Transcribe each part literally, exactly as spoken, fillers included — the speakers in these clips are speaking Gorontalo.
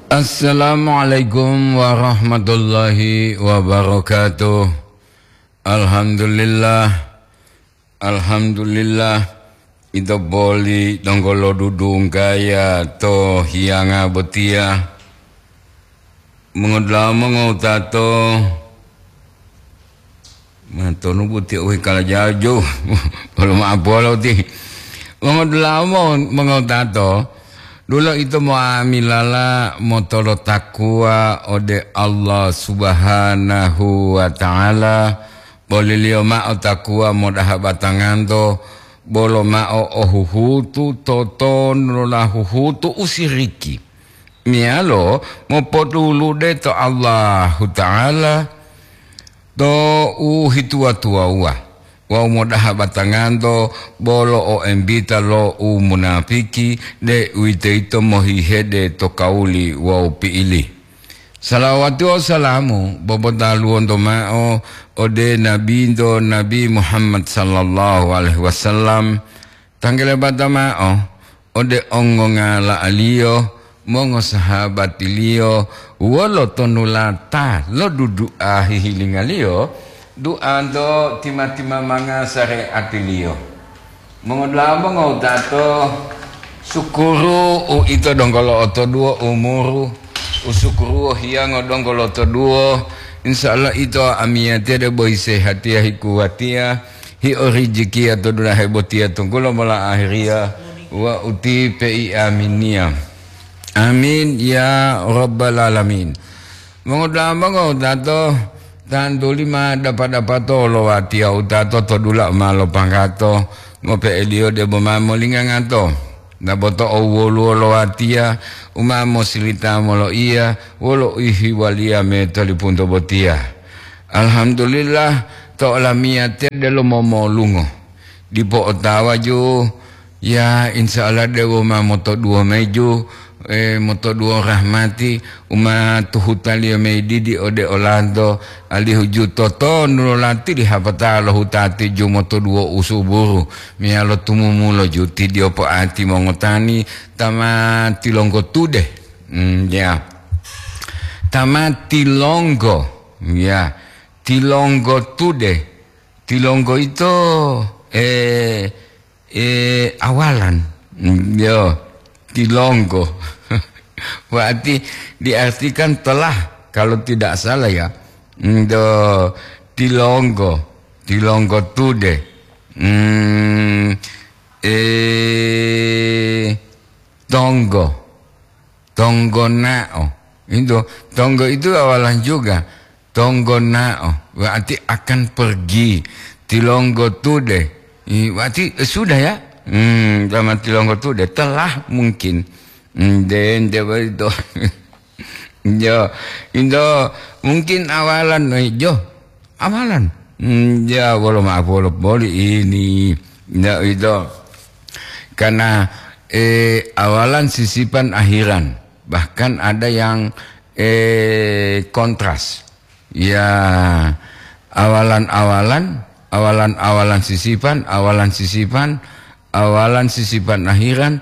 Assalamualaikum warahmatullahi wabarakatuh. Alhamdulillah. Alhamdulillah. Ito boli donggo lo dudunggaya to hiyanga botiya. Mongodula'a mongowutato. Matonu boti uwi kala jaju. Bolo ma'apolo ti. Mongodula'a mo-, mongowutato. Dulo ito mo'amilala motolotakuwa ode Allah Subhanahu wa Ta'ala. Boliliyo ma'o takuwa modaha batanganto, bolo ma'o o huhutu totonulola huhutu u siriki, meyalo mopotulude to Allahuta'ala to u hituwa-tuwawuwa wawu modaha batanganto bolo o embita lo u munapiki, deuwitoyito mohihede to kawuli wawu pi'ili. Salawati wawu salamu bobotaluwonto ma'o ode Nabinto Nabi Muhammad sallallahu alaihi wasallam, tanggelebata ma'o ode ongongala'aliyo, mongosahabatiliyo, wolo tonulata lo dudu'a hihilingaliyo, du'anto tima-timamanga sare'atiliyo. Mongodula'a mongowutato, sukuru uito donggo lo'otoduwo umuru, usukuruwo hiyango donggo lo'otoduwo. Insya Allah ito amiyatiya debo hisehatiya, hikuwatiya, hiorijikiya to dulahe botiya tunggulo mola ahiriya wa uti pei aminiya. Amin ya rabbal alamin. Mongodula'a mongowutato, tantuli ma dapa-dapato lo watiya wutato to dula u ma lopanggato, ngope'eliyo debo ma molingangato. Naboto owoluwo lo watiya u ma mosilita moloiya wolo uhiwaliya me tolipunto botiya. Alhamdulillah, to olamiyatiya delo momolungo. Dipo otawa ju, ya, insya Allah dewo ma motoduwo mayi ju, eh, motoduwo rahmati, u ma tuhutaliyo mayi didi ode olanto, alihu ju totonu lo lati di hapata lo hutati ju motoduwo usuburu, meyalo tumumulo ju tidiyo po'ati mongotani ta ma tilonggo tude. Hmm, ya. Ta ma tilonggo, ya. Tilonggo tude. Tilonggo ito, eh, eh, awalan. Mm, yo, tilonggo. Berarti diartikan telah, kalau tidak salah ya. Mm, do, tilonggo. Tilonggo tude. Mm, eh, tonggo. Tonggonao. Itu, tonggo itu awalan juga. Tonggonao, berarti akan pergi. Tilonggo tude. I, berarti, eh, sudah ya? Hmm, sama tilonggo tude. Telah mungkin. Hmm, den, de, itu. Yo, itu mungkin awalan, eh, jo. Amalan. Hmm, ya, wolo maaf, wolo boli ini. Ya, itu. Karena, eh, awalan sisipan akhiran. Bahkan ada yang, eh, kontras. Ya, awalan-awalan, awalan-awalan sisipan, awalan sisipan, awalan sisipan akhiran.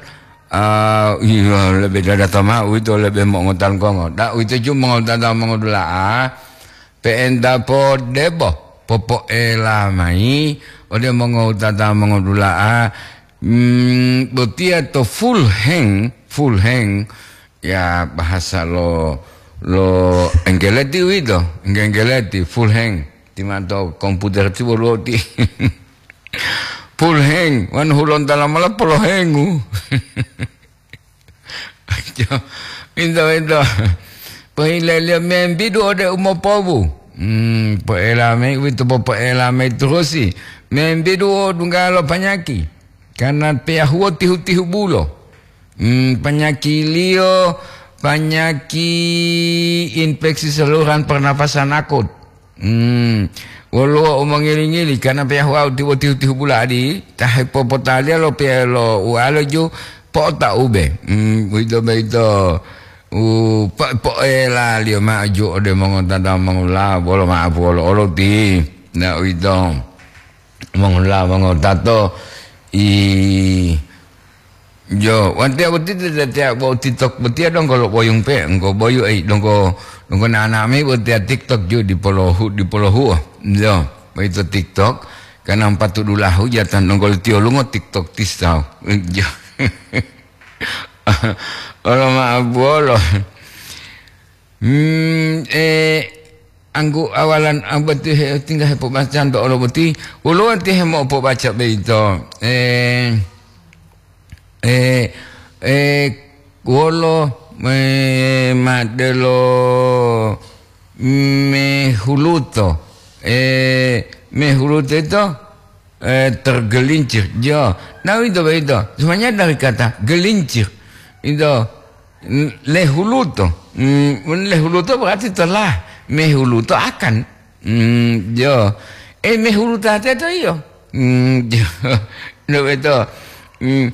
Ah, iya, lebe dada tama'u itu lebe mongotan kongo. Da, itu cuma mongotan mongodula'a. Pe'enta po debo popo'ela mayi ode mongowutata mongodula'a, mm, botiya to full heng, full heng, ya, bahasa lo, lo Enggeleti uwito, Engge-, Enggeleti, full heng, timanto komputer ti woluwo ti. Full heng, wanu hulontala mola polohengu. Pinto-pinto. Pohileliyo membidu ode umopobu. Hmm, po'ela mayi uwito popo'ela mayi turusi. Membidu o dungga lo panyaki. Karena peyahuo tihu-tihu bulo. Hmm, panyakiliyo panyaki infeksi saluran pernapasan akut. Hmm, woluwo u mongili-ngili, karena peyahuwau tibo tihu-tihu buladi, ta hepopotaliya lo pe-, lo ualo ju po'otaube. Hmm, uwito boyito u po-, po'elaliyo ma'o ju ode mongotata mongula, bolo ma'apu olo-olo ti. Na uwito mongula mongotato i Jo, watiya boti tetiya bo TikTok botiya donggo lo boyung pe, engko boyu ei donggo, donggo nana mayi botiya TikTok ju dipolohu, dipolohuo. Jo, boyito TikTok, kana empatu dulahu jatan donggo lo tiyolungo TikTok tisau. Jo. Olo ma'abuwolo. Hmm, eh, anggu awalan, ah, boti he, tingga hepobacanto olo boti, woluwo ti hemopobaca boyito. Eh, eh, eh, wolo, eh, madelo mehuluto. Eh, mehuluto ito, eh, tergelincir. Jo, nah, itu begitu. Semuanya dari kata gelincir. Itu, mm, lehuluto. Mm, lehuluto berarti telah. Mehuluto akan. Mm, jo. Eh, mehuluto ate to iyo. Mm, jo. Nah, itu. Mm,